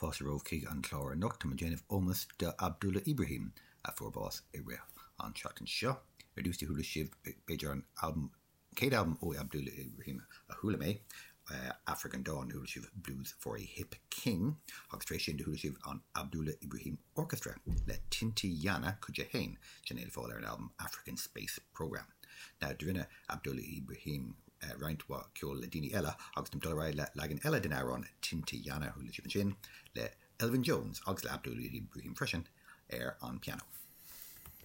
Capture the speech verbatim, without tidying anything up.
Fáilte romhaibh chuig an chlár anocht tá muid ag déanamh ómós do Abdullah Ibrahim a fuair bás i rith an tseachtain seo. Ar dtús chuala sibh b'fhéidir an album céad album ó Abdullah Ibrahim a chuala mé uh, African Dawn chuala sibh Blues for a Hip King agus tar éis sin chuala sibh an Abdullah Ibrahim Orchestra le Tintiana cuid a haon sin é fáil ar an album African Space Program. Now rinne Abdullah Ibrahim uh, roinnt mhaith ceol le daoine eile agus dul le leagan eile den amhrán Tintiana chuala sibh sin le Elvin Jones agus le Abdullah Ibrahim freisin ar an piano.